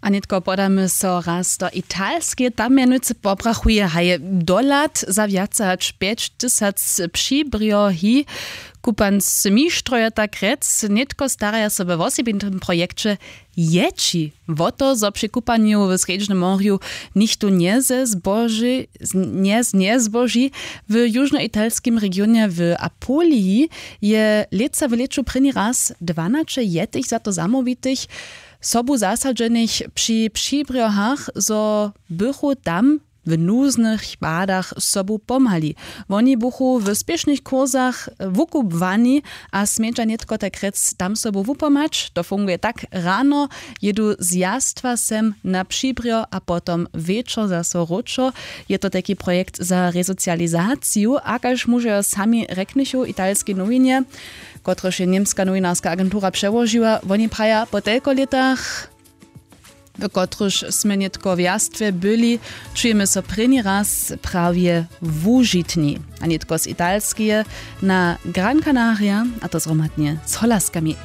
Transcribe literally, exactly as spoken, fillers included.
A nětko podamy so raz do Italskeje. Tam mjenujcy pobrachuje haj dohlad za wjace hač pjećtysac přibrjohi. Kupansmištrojo tak rjec nětko staraja so we wosebitym projekće, jěći wo to, zo při kupanju w srjedźnym morju nichtó njezbóži, njezbóži. W južnoitalskim regionje w Apuliji je lětsa w lěću prěni raz dwanaće jetych za to zamołwitych, sobu zasadźenych při přibrjohach, zo bychu tam w nuznych padach sobu pomhali. Woni buchu w spěšnych kursach wukubłani a smědźa nětko tak rjec tam sobu wupomhać. To funguje tak: rano jědu z jastwa sem na přibrjo a potom wječor zaso wróćo. Je to tajki projekt za resocializaciju a kaž mužejo sami rjeknychu italskej nowinje, kotrež je němska nowinarska agentura přełožiła, woni praja, po telko lětach, w kotrychž smy nětko w jastwje byli, čujemy so prěni raz prawje wužitni. A nětko z Italskeje na Gran Canaria, a to zhromadnje z Holaskami.